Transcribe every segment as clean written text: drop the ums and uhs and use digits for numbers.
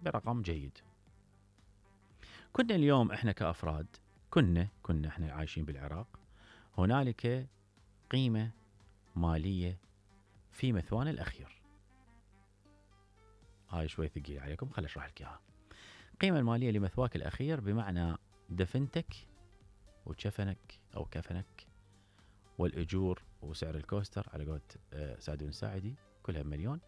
برقم جيد. كنا اليوم احنا كأفراد كنا احنا عايشين بالعراق، هنالك قيمة مالية في مثوانا الأخير. هاي شوي ثقيل عليكم، خل اشرح لك اياها. القيمة المالية لمثواك الأخير بمعنى دفنتك وكفنك أو كفنك، والأجور وسعر الكوستر على قولة سعد بن ساعدي كلها بمليون،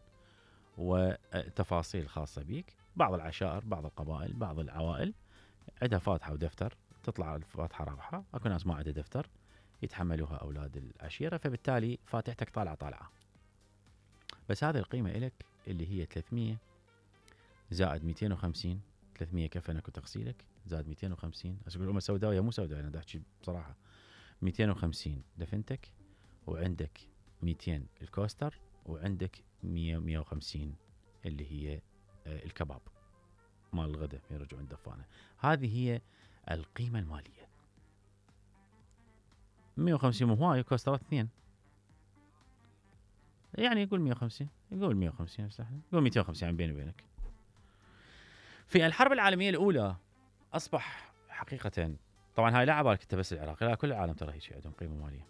وتفاصيل خاصة بيك. بعض العشائر، بعض القبائل، بعض العوائل عندها فاتحة ودفتر، تطلع الفاتحة رابحة. اكو ناس ما عندها دفتر يتحملوها أولاد العشيرة، فبالتالي فاتحتك طالعة. بس هذه القيمة إلك اللي هي 300 زائد 250. 300 كفنك وتغسيلك زائد 250. أقول الأمة سوداوية مو سوداوية، أنا أحكي بصراحة. 250 دفنتك، وعندك 200 الكوستر، وعندك 150 اللي هي الكباب مال الغداء يرجعون الدفانة. هذه هي القيمة المالية. 150 مو هواي، كوسترات 2 يعني يقول 150، يقول 150 يقول 250 عن بيني وبينك. في الحرب العالمية الأولى أصبح حقيقة، طبعا هاي لا عبالك انت بس العراق، لا كل العالم ترى هيك عندهم قيمة مالية.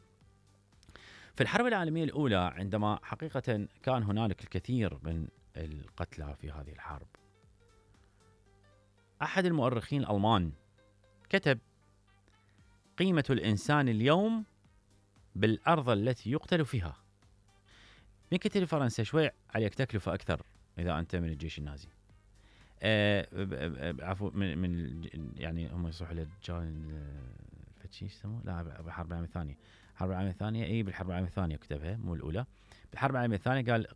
في الحرب العالمية الأولى عندما حقيقة كان هنالك الكثير من القتلى في هذه الحرب، أحد المؤرخين الألمان كتب: قيمة الإنسان اليوم بالأرض التي يقتل فيها. من كتب فرنسا شوي عليك تكلفة أكثر إذا أنت من الجيش النازي. عفوا من يعني هم يصيحوا للجان فتشي يسموه، لا بالحرب العالمية الثانية. الحرب العالمية الثانية بالحرب العالمية الثانية كتبها مو الأولى. بالحرب العالمية الثانية قال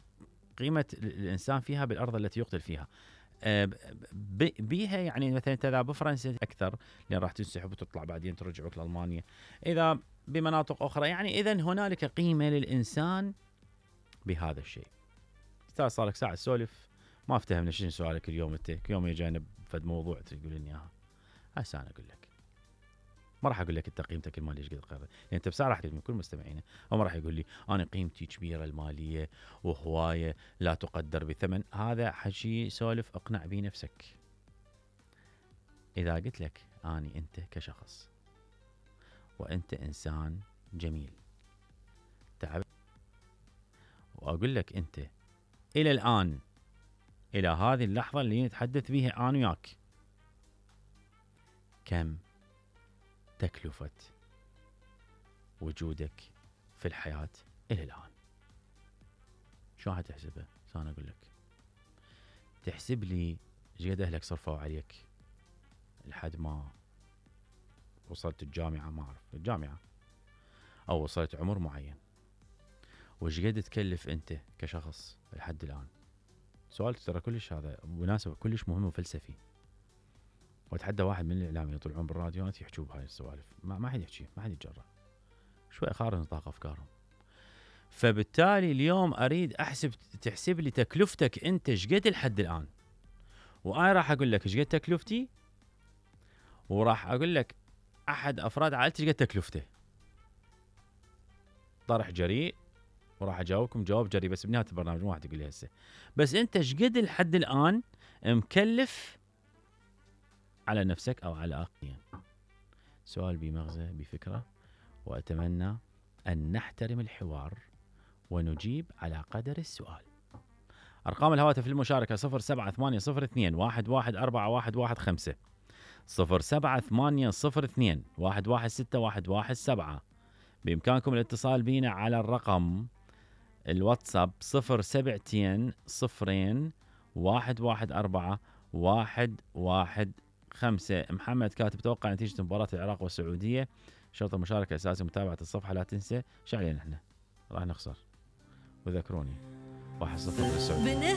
قيمة الإنسان فيها بالأرض التي يقتل فيها. بيها يعني مثلا إذا بفرنسا أكثر لأن راح تنسحب وتطلع بعدين ترجع لك لألمانيا، إذا بمناطق أخرى يعني إذن هنالك قيمة للإنسان بهذا الشيء. أستاذ صارك ساعة سولف ما افتهمنا شنو سؤالك اليوم. انت يوم يجينا بفد موضوع تقول لي اياها، هسه انا اقول لك. ما راح اقول لك انت قيمتك الماليه ايش قد قرر، يعني انت بساعه راح تقول كل مستمعينا، هو ما راح يقول لي انا قيمتي كبيره الماليه وهوايه لا تقدر بثمن. هذا حكي سولف اقنع به نفسك. اذا قلت لك اني انت كشخص وانت انسان جميل تعب، واقول لك انت الى الان إلى هذه اللحظة اللي نتحدث بها أنا وياك كم تكلفة وجودك في الحياة إلى الآن؟ شو هتحسبها؟ أنا أقول لك تحسب لي ايش قد أهلك صرفوا عليك لحد ما وصلت الجامعة، ما أعرف الجامعة، أو وصلت عمر معين، وايش قد تكلف أنت كشخص لحد الآن. سؤال ترى كلش هذا مناسبة كلش مهم وفلسفي. واتحدى واحد من الاعلاميين يطلعون بالراديوات يحكوا بهاي السوالف، ما حد يحكي، ما حد يتجرأ، شوي خارج نطاق افكارهم. فبالتالي اليوم اريد احسب، تحسب لي تكلفتك انت ايش قد لحد الان، وانا راح اقول لك ايش قد تكلفتي، وراح اقول لك احد افراد عائلتي ايش قد تكلفته. طرح جريء، وراح اجاوبكم جواب جريء بس بنهايه البرنامج، مو راح تقول لي هسه. بس انت ايش قد لحد الان مكلف على نفسك او على اخرين؟ سؤال بمغزى بفكره، وأتمنى أن نحترم الحوار ونجيب على قدر السؤال. أرقام الهواتف للمشاركة 0780211415 078021161117. بإمكانكم الاتصال بنا على الرقم الواتساب 0720211415. محمد كاتب توقع نتيجة مباراة العراق والسعودية، شرط المشاركة أساسي متابعة الصفحة، لا تنسى. شو علينا احنا راح نخسر، وذكروني 1-0 للسعودية.